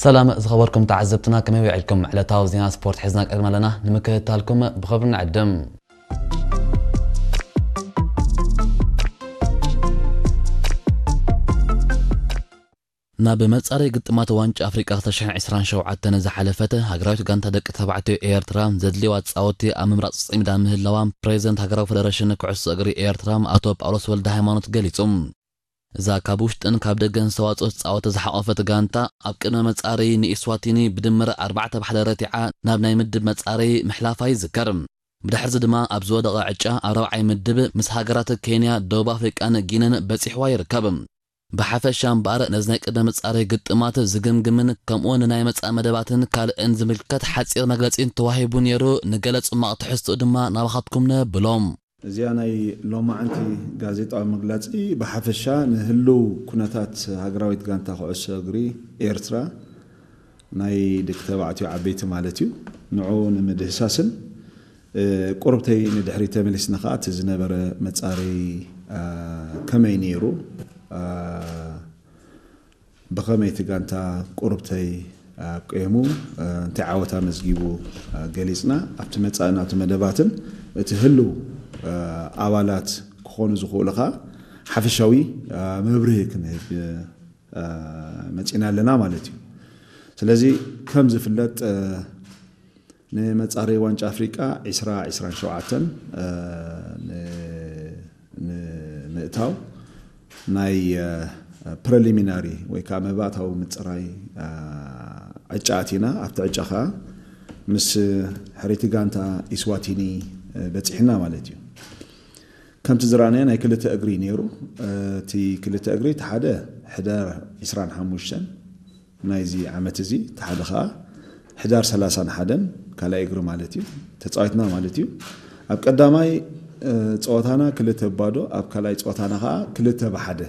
ሰላም ዝኸበርኩም ተዓዘብትና፣ ከመይ ውዒልኩም? ዕለታዊ ዜና ስፖርት ሒዝና ቀሪብና ኣለና፣ ንምክትታልኩም ብኽብሪ ንዕድም። ናብ መጻረይ ግጥማት ዋንጫ ኣፍሪቃ ክልተ ሽሕን ዕስራን ሸውዓተን ዝሓለፈት ሃገራዊት ጋንታ ደቂ ተባዕትዮ ኤርትራ ዘድልይዋ ጻወቲ ኣብ ምምራጽ ጽዒዳ ምህላዋ ፕሬዚደንት ሃገራዊ ፈደረሽን ኩዕሶ እግሪ ኤርትራ ኣቶ ጳውሎስ ወልደ ሃይማኖት ገሊጹ። እዛ ካብ ውሽጥን ካብ ደገን ዝተዋጽኦት ጻወቲ ዝሓቖፈት ጋንታ ኣብ ቅድመ መጻረይ ንኢስዋቲኒ ብድምር ኣርባዕተ ብሓደ ረቲዓ ናብ ናይ ምድብ መጻረይ ምሕላፋ ይዝከር። ብድሕርዚ ድማ ኣብ ዝወደቐ ዕጫ ኣብ ራብዓይ ምድብ ምስ ሃገራት ኬንያ፣ ደቡብ ኣፍሪቃን ጊንን በጺሕዋ ይርከብ። ብሓፈሻ እምበኣር ነዚ ናይ ቅድመ መጻረይ ግጥማት ዝግምግምን ከምኡውን ንናይ መጻኢ መደባትን ካልእን ዝምልከት ሓጺር መግለጺ እንተዋሂቡ ነይሩ፣ ንገለ ጽማቕ ትሕዝትኡ ድማ ናባኻትኩም ነብሎም። እዚኣ ናይ ሎማዓንቲ ጋዜጣዊ መግለጺ ብሓፈሻ ንህልው ኩነታት ሃገራዊት ጋንታ ኩዕሶ እግሪ ኤርትራ ናይ ደቂ ተባዕትዮ ዓበይቲ ማለት እዩ፣ ንዑ ንምድህሳስን፣ እ፣ ቁርብተይ ንድሕሪት ተመሊስና ከኣ እቲ ዝነበረ መጻረይ፣ አ፣ ከመይ ነይሩ፣ አ፣ ብኸመይ እቲ ጋንታ ቁርብተይ ኣብ ቀየሙ፣ እ፣ እንታይ ዓወት ኣመዝጊቡ፣ እ፣ ገሊጽና። ኣብቲ መጻኢ ናቱ መደባትን እቲ ህልው፣ እ፣ ኣባላት ክኾኑ ዝኽእሉ ከኣ ሓፈሻዊ፣ እ፣ መብርሂ ክንህብ፣ እ፣ መጺና ኣለና ማለት እዩ። ስለዚ ከም ዝፍለጥ፣ እ፣ ንመጻረይ ዋንጫ ኣፍሪቃ ዕስራ ዕስራን ሸውዓተን፣ እ፣ ን-፣ ንምእታው ናይ፣ እ፣ ፕሪሊሚናሪ ወይ ከዓ መባእታዊ ምጽራይ፣ እ፣ ዕጫ ኣቲና። ኣብቲ ዕጫ ከዓ ምስ ሕርይቲ ጋንታ ኢስዋቲኒ፣ እ፣ በጺሕና ማለት እዩ። ከምቲ ዝረኣናዮ ናይ ክልተ እግሪ ነይሩ። እ፣ እቲ ክልተ እግሪ እቲ ሓደ ሕዳር ዕስራን ሓሙሽተን ናይዚ ዓመት እዚ፣ እቲ ሓደ ኸኣ ሕዳር ሰላሳን ሓደን ካልኣይ እግሪ ማለት እዩ፣ ተጻዊትና ማለት እዩ። ኣብ ቀዳማይ፣ እ፣ ጸወታና ክልተ ባዶ፣ ኣብ ካልኣይ ጸወታና ኸኣ ክልተ ብሓደ